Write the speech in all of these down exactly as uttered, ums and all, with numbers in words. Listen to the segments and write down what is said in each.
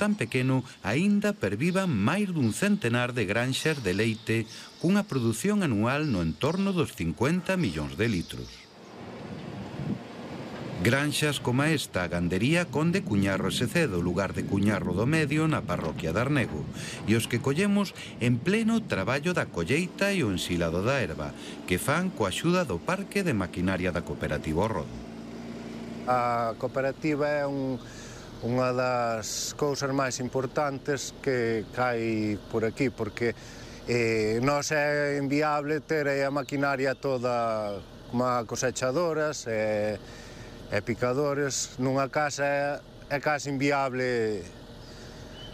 tan pequeno aínda pervivan máis dun centenar de granxas de leite cunha produción anual no entorno dos cincuenta millóns de litros. Granxas como esta, a gandería Conde Cuñarro e Secedo, lugar de Cuñarro do Medio, na parroquia de Arnego, e os que collemos en pleno traballo da colleita e o ensilado da herba, que fan coa axuda do Parque de Maquinaria da Cooperativa O Rodo. A cooperativa é un, unha das cousas máis importantes que hai por aquí, porque eh, non é inviable ter a maquinaria toda como cosechadoras e, e picadores. Nunha casa é, é case inviable,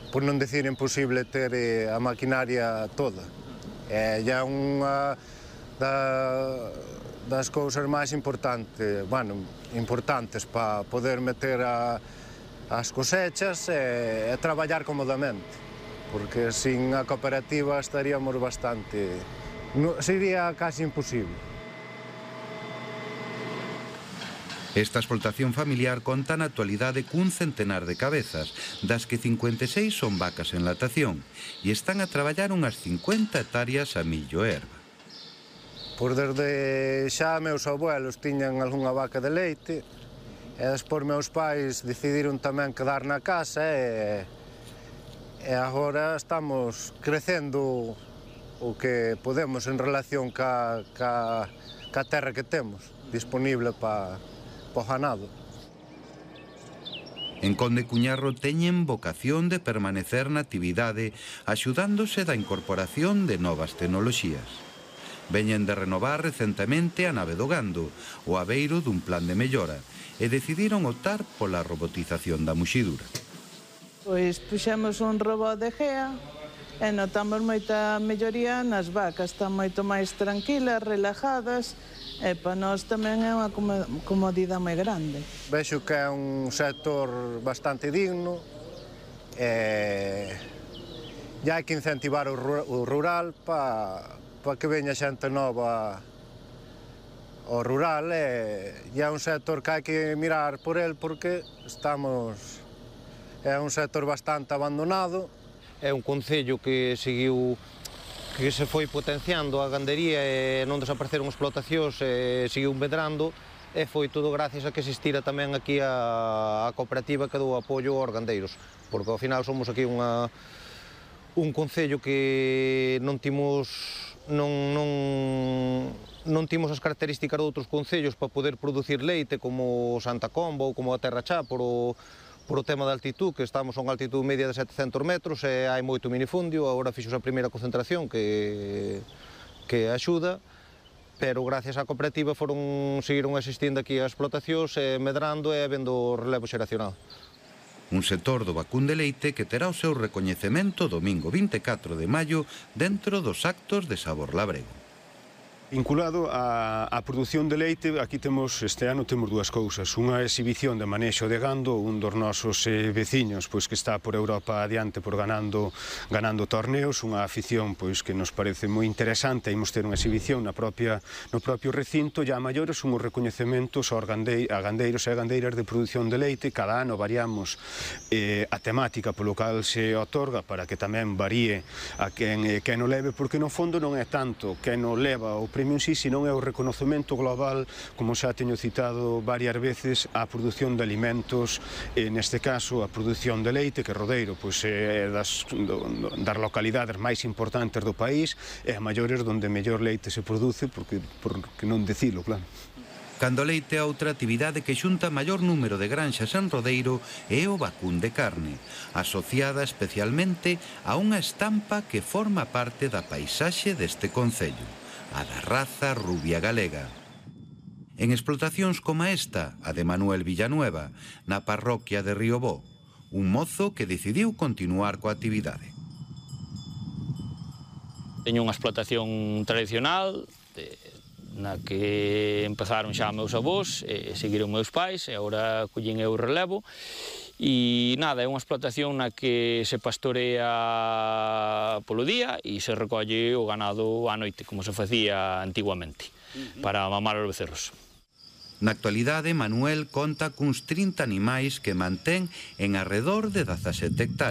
por non decir imposible, ter a maquinaria toda. É já unha da, das cousas máis importantes, bueno, importantes para poder meter a, as cosechas e, e traballar cómodamente, porque sin a cooperativa estaríamos bastante... No, sería casi imposible. Esta explotación familiar conta na actualidade cun centenar de cabezas, das que cincuenta e seis son vacas en latación, e están a traballar unhas cincuenta hectáreas a millo e herba. Por desde xa meus abuelos tiñan algunha vaca de leite e despois meus pais decidiron tamén quedar na casa e, e agora estamos crecendo o que podemos en relación ca, ca, ca terra que temos disponible para pa o ganado. En Conde Cuñarro teñen vocación de permanecer na actividade axudándose da incorporación de novas tecnoloxías. Veñen de renovar recentemente a nave do gando, o abeiro dun plan de mellora, e decidiron optar pola robotización da muxidura. Pois puxemos un robot de gea e notamos moita melloría nas vacas, están moito máis tranquilas, relajadas, e para nós tamén é unha comodidade moi grande. Vexo que é un sector bastante digno e e hai que incentivar o rural para para que veña xente nova ao rural e, e é un sector que hai que mirar por el porque estamos... é un sector bastante abandonado. É un concello que seguiu que se foi potenciando a gandería e non desapareceron explotacións e seguiu medrando e foi todo gracias a que existira tamén aquí a, a cooperativa que dou apoio aos gandeiros, porque ao final somos aquí unha, un concello que non timos non, non, non timos as características de outros concellos para poder producir leite como Santa Comba ou como a Terra Chá por o, por o tema da altitud, que estamos a unha altitud media de setecentos metros e hai moito minifundio, agora fixos a primeira concentración que, que axuda, pero gracias á cooperativa foron, seguiron existindo aquí as explotacións e medrando e habendo relevo xeracional. Un sector do vacún de leite que terá o seu recoñecemento domingo vinte e catro de maio dentro dos actos de Sabor Labrego. Vinculado á, á produción de leite, aquí temos, este ano temos dúas cousas. Unha exhibición de manexo de gando, un dos nosos eh, veciños pois, que está por Europa adiante por ganando, ganando torneos, unha afición pois, que nos parece moi interesante. Imos ter unha exhibición na propia, no propio recinto, e a maiores son os recoñecementos aos gandei, a gandeiros e a gandeiras de produción de leite. Cada ano variamos eh, a temática polo cal se otorga para que tamén varíe a quen, eh, quen o leve, porque no fondo non é tanto quen o leva o premio en sí, senón é o reconocemento global, como xa teño citado varias veces, á produción de alimentos, e neste caso a produción de leite, que Rodeiro pois, é das, do, das localidades máis importantes do país e a maiores onde mellor leite se produce, porque, por que non decilo, claro. Cando leite é outra actividade que xunta maior número de granxas en Rodeiro é o vacún de carne, asociada especialmente a unha estampa que forma parte da paisaxe deste concello, a da raza rubia galega. En explotacións como esta, a de Manuel Villanueva, na parroquia de Riobó, un mozo que decidiu continuar coa actividade. Teño unha explotación tradicional, de, na que empezaron xa meus avós, e seguiron meus pais, e agora collín eu o relevo. E nada, é unha explotación na que se pastorea polo día e se recolle o ganado á noite, como se facía antiguamente, para mamar os becerros. Na actualidade, Manuel conta cuns trinta animais que mantén en arredor de dezasete hectáreas.